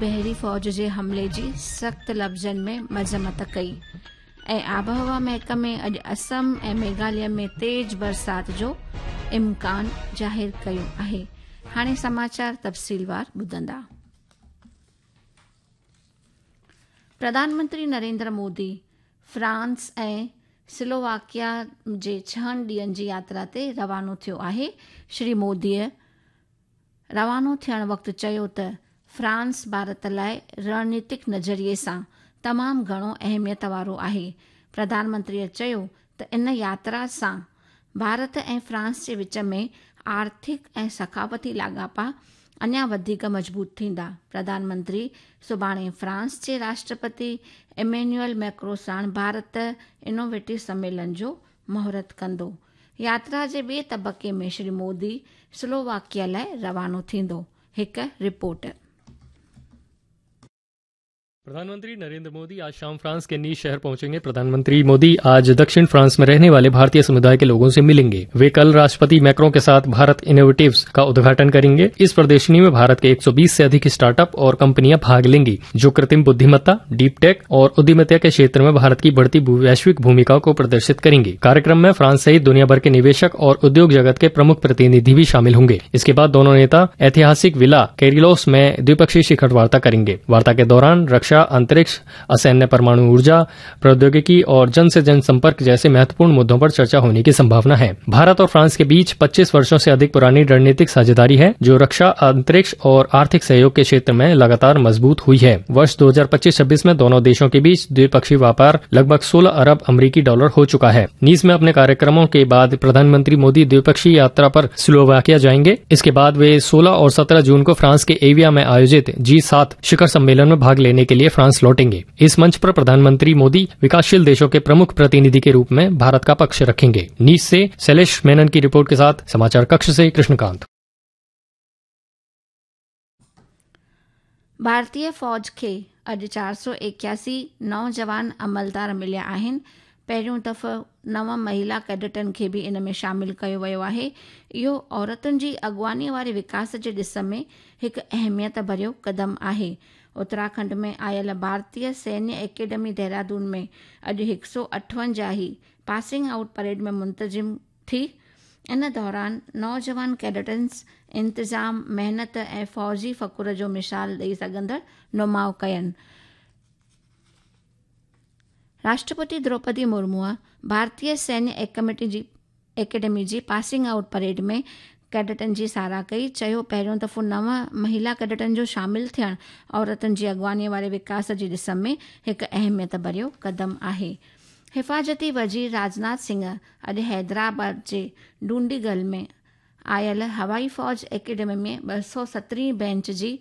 بحري فوج جي حملي جي سخت لفظن ۾ مذمت ڪئي ۽ آبهوا محڪمي اڄ اسم ۽ ميگهاليه ۾ تيز برسات جو امڪان ظاهر ڪيو آهي. هاڻي سماچار تفصيلوار ٻڌندا. پرڌان منتري نريندر مودي فرانس ۽ سلوواڪيا جي ڇهن ڏينهن جي ياترا تي روانو ٿيو آهي. شري موديء روانو ٿيڻ وقت چيو ته فرانس ڀارت لاء رڻنيتڪ نظريي سان تمام گهڻو اهميت وارو آهي. پرڌان منتريء چيو ته ان ياترا سان ڀارت ۽ فرانس جي وچ ۾ آرٿڪ ۽ ثقافتي لاڳاپا اڃا وڌيڪ مضبوط ٿيندا. پرڌان منتري سڀاڻي فرانس جي راشٽرپتي ايمينيوئل ميڪرو ساڻ ڀارت انوويٽو سميلن جو مهورت ڪندو. ياترا جي ٻئي طبقي ۾ شري مودي سلوواڪيا لاء روانو ٿيندو. هڪ رپورٽ. प्रधानमंत्री नरेंद्र मोदी आज शाम फ्रांस के नीस शहर पहुंचेंगे। प्रधानमंत्री मोदी आज दक्षिण फ्रांस में रहने वाले भारतीय समुदाय के लोगों से मिलेंगे। वे कल राष्ट्रपति मैक्रों के साथ भारत इनोवेटिव्स का उद्घाटन करेंगे। इस प्रदर्शनी में भारत के 120 से अधिक स्टार्टअप और कंपनियां भाग लेंगी, जो कृत्रिम बुद्धिमत्ता, डीप टेक और उद्यमिता के क्षेत्र में भारत की बढ़ती वैश्विक भूमिका को प्रदर्शित करेंगी। कार्यक्रम में फ्रांस सहित दुनिया भर के निवेशक और उद्योग जगत के प्रमुख प्रतिनिधि भी शामिल होंगे। इसके बाद दोनों नेता ऐतिहासिक विला कैरिलोस में द्विपक्षीय शिखर वार्ता करेंगे। वार्ता के दौरान रक्षा, अंतरिक्ष, असैन्य परमाणु ऊर्जा, प्रौद्योगिकी और जन से जन संपर्क जैसे महत्वपूर्ण मुद्दों पर चर्चा होने की संभावना है। भारत और फ्रांस के बीच 25 वर्षों से अधिक पुरानी रणनीतिक साझेदारी है, जो रक्षा, अंतरिक्ष और आर्थिक सहयोग के क्षेत्र में लगातार मजबूत हुई है। वर्ष 2025-26 में दोनों देशों के बीच द्विपक्षीय व्यापार लगभग 16 अरब अमरीकी डॉलर हो चुका है। नीस में अपने कार्यक्रमों के बाद प्रधानमंत्री मोदी द्विपक्षीय यात्रा पर स्लोवाकिया जाएंगे। इसके बाद वे 16 और 17 जून को फ्रांस के एविया में आयोजित जी7 शिखर सम्मेलन में भाग लेने के लिए फ्रांस लौटेंगे। इस मंच पर प्रधानमंत्री मोदी विकासशील देशों के प्रमुख प्रतिनिधि के रूप में भारत का पक्ष रखेंगे। नीस से शैलेश मेनन की रिपोर्ट के साथ समाचार कक्ष से कृष्णकांत। भारतीय फ़ौज खे अॼु 481 नौजवान अमलदार मिलिया आहिनि। पहिरियों दफ़ो नव महिला कैडेटनि खे बि इन में शामिल कयो वियो आहे। इहो औरतुनि जी अॻुवानीअ वारे विकास जे ॾिस में हिकु अहमियत भरियो क़दम आहे। उत्तराखंड में आयल भारतीय सैन्य एकेडमी देहरादून में अॼु 158ही पासिंग आउट परेड में मुंतज़िम थी। इन दौरान नौजवान कैडेटन्स इंतज़ाम, महिनत ऐं फ़ौजी फ़ख्र जो मिसाल ॾेई सघंदड़ नुमाउ कयनि। राष्ट्रपति द्रौपदी मुर्मूअ भारतीय सैन्य एकेडमी जी पासिंग आउट परेड में कैडेटनि जी सराह कई। चयो, पहिरियों दफ़ो नव महिला कैडेटनि जो शामिल थियणु औरतुनि जी अॻुवानीअ वारे विकास जी ॾिस में हिकु अहमियत भरियो क़दम आहे। हिफ़ाज़ती वज़ीर राजनाथ सिंह अॼु हैदराबाद जे डुंडीगल में आयल हवाई फ़ौज एकेडमी में 217 बेंच जी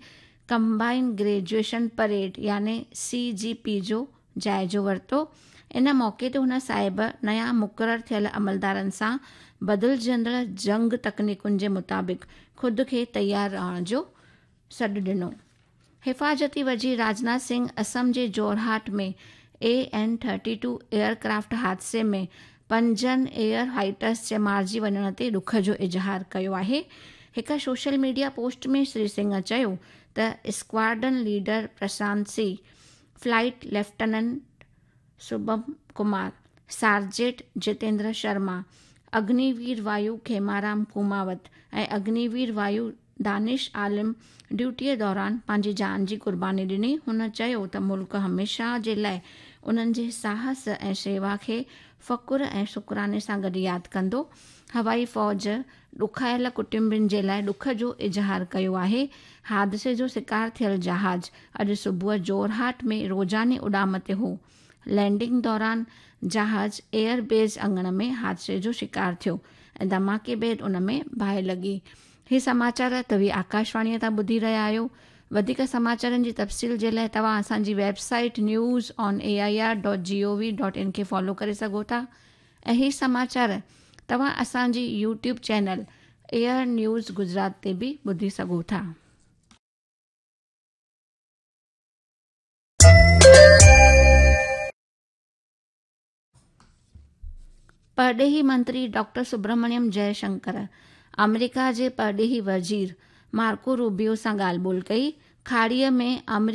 कंबाइन ग्रेजुएशन परेड यानी सी जी पी जो जाइज़ो वरितो। इन मौक़े ते हुन साहिब नया मुक़ररु थियल अमलदारनि सां बदिलजंदड़ जंग तकनीकुनि जे मुताबिक़ ख़ुदि खे तयारु रहण जो सॾु ॾिनो। हिफ़ाज़ती वज़ीर राजनाथ सिंह असम जे जोरहाट में AN-32 aircraft हादसे में 5 एयर फाइटर्स जे मारिजी वञण ते ॾुख जो इज़हार कयो आहे। हिकु सोशल मीडिया पोस्ट में श्री सिंह चयो त squadron leader Prashant C, flight lieutenant Shubham Kumar, sergeant Jitendra Sharma, Agniveer Vayu Khemaram Kumawat ऐं अग्निवीर वायु दानिश आलम ड्यूटीअ दौरान पंहिंजी जान जी क़ुर्बानी ॾिनी। हुन चयो त मुल्क हमेशह जे लाइ उन्हनि जे साहस ऐं शेवा खे फ़ख्र ऐं शुक्राने सां गॾु यादि कंदो। हवाई फ़ौज ॾुखायल कुटुंबनि जे लाइ ॾुख जो इज़हार कयो आहे। हादसे जो शिकार थियल जहाज़ अॼु सुबुह जोरहाट में रोज़ाने उॾाम ते हो। लैंडिंग दौरान जहाज़ एयरबेस आङण में हादसे जो शिकार थियो ऐं धमाके बाद उन में बाहि लॻी। ही समाचार तव्हीं आकाशवाणीअ तां ॿुधी रहिया आहियो। वधीक समाचारनि जी तफ़सील जे लाइ तव्हां असांजी website newsonair.gov.in खे फॉलो करे सघो था ऐं ही समाचार तव्हां असांजी YouTube channel air news Gujarat ते बि ॿुधी सघो था। परॾेही मंत्री डॉक्टर सुब्रमण्यम जयशंकर अमेरिका जे परॾेही वज़ीर मार्को रूबियो सां ॻाल्हि ॿोल कई। کاڙيءَ ۾ آمريڪا